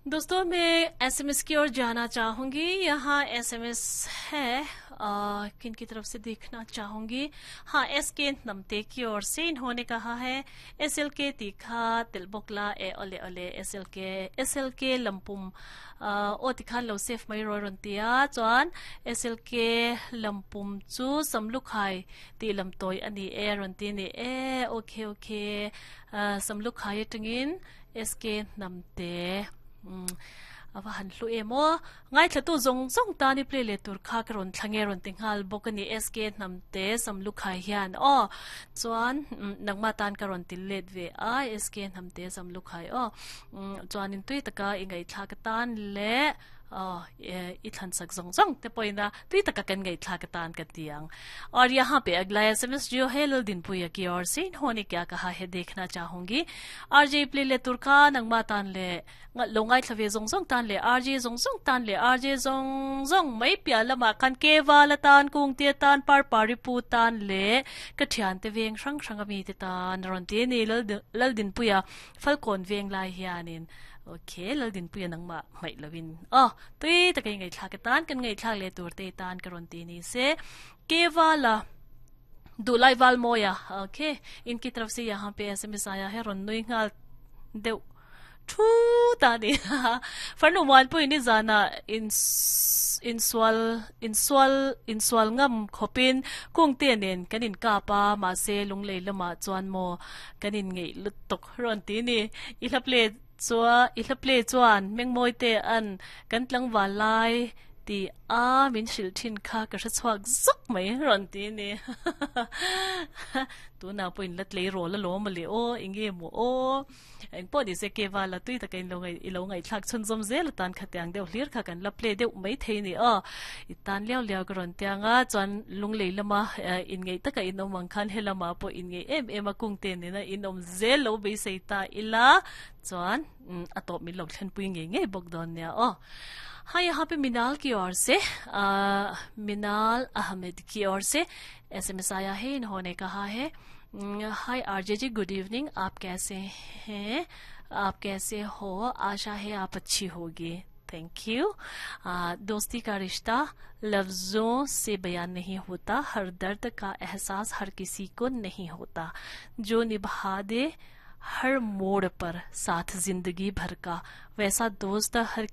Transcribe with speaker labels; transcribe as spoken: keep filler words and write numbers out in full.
Speaker 1: दोस्तों, मैं एसएमएस की ओर जाना चाहूंगी। यहाँ एसएमएस है, आ, किन की तरफ से देखना चाहूंगी। हाँ, एस के नमते की ओर से इन्होंने कहा है, एस एल के तीखा तिलबोकला ए ओले ओले S L K S L के लंपुम ओ tikhan lo save mai ro ron tia। Chuan S L K lampum chu samlukhai ti lam toi ani e ron ti ni e। Okay okay, Samlukhai atangin S K Namte awa han hlu emo ngai thlatu zong zong ta ni play le tur kha ka ron thlange ron tinghal bokani S K Namte Samlukhai hian o। Chuan nangma tan ka ron til let ve a, S K Namte Samlukhai o। Chuan in tui taka ingai thla ka tan le i thlan sak zong zong te poina tui taka kan ngai thla ka tan ka tiang। और यहाँ पे अगला एसएमएस जो है, लल दिन पुया की ओर से, इन्होंने क्या कहा है, देखना चाहूंगी। आरजे प्ले ले तुरका नंगमा तान ले longai thlave zong zong tan le R J zong zong tan le R J zong zong mai pia lama kan ke wala tan kung te tan par pari pu tan le ka thian te veng rang rang ami te tan ron te ni lal lal din puya falcon veng lai hianin। Okay, lal din puya nang ma mai lawin oh tui takai ngai thla ka tan kan ngai thla le tur te tan karon ti ni se ke wala दुलाई वाल मोया। ओके, इनकी तरफ से यहाँ पे एसएमएस आया है। ron nui ngal deuh thu ta ni farnu wan pui ni zana in in swal in swal in swal ngam khopin kung te nen kanin ka pa ma se lunglei lama chuan mo kanin ngei lutok ron ti ni। I hlaple chua i hlaple chuan mengmoi te an kan tlang wa lai ti a min hril thin kha ka hre chuak zuk mai ron ti ni। Tu na point lat le ro la lo ma le o inge mo o eng po ni se ke wa la tui ta kain lo ngai ilo ngai thlak chun zom zel tan kha tiang deuh hlir kha kan la play deuh mai thei ni a i tan leo leo ka ron tianga। Chuan lung lei lama in ngei taka in om ang khan helama po in ngei em em a kung te ni na in om zel lo be sei ta ila। Chuan atop min lo thlen pui nge nge bok don nia o। हाँ, यहाँ पे मिनाल की ओर से, आ, मिनाल अहमद की ओर से एसएमएस आया है। इन्होंने कहा है, हाय आरजे जी, गुड इवनिंग, आप कैसे हैं? आप कैसे हो? आशा है आप अच्छी होगी। Thank you. दोस्ती का रिश्ता लफ्ज़ों से बयान नहीं होता। हर दर्द का एहसास हर किसी को नहीं होता। जो निभा दे हर मोड़ पर साथ जिंदगी भर का, वैसा दोस्त हर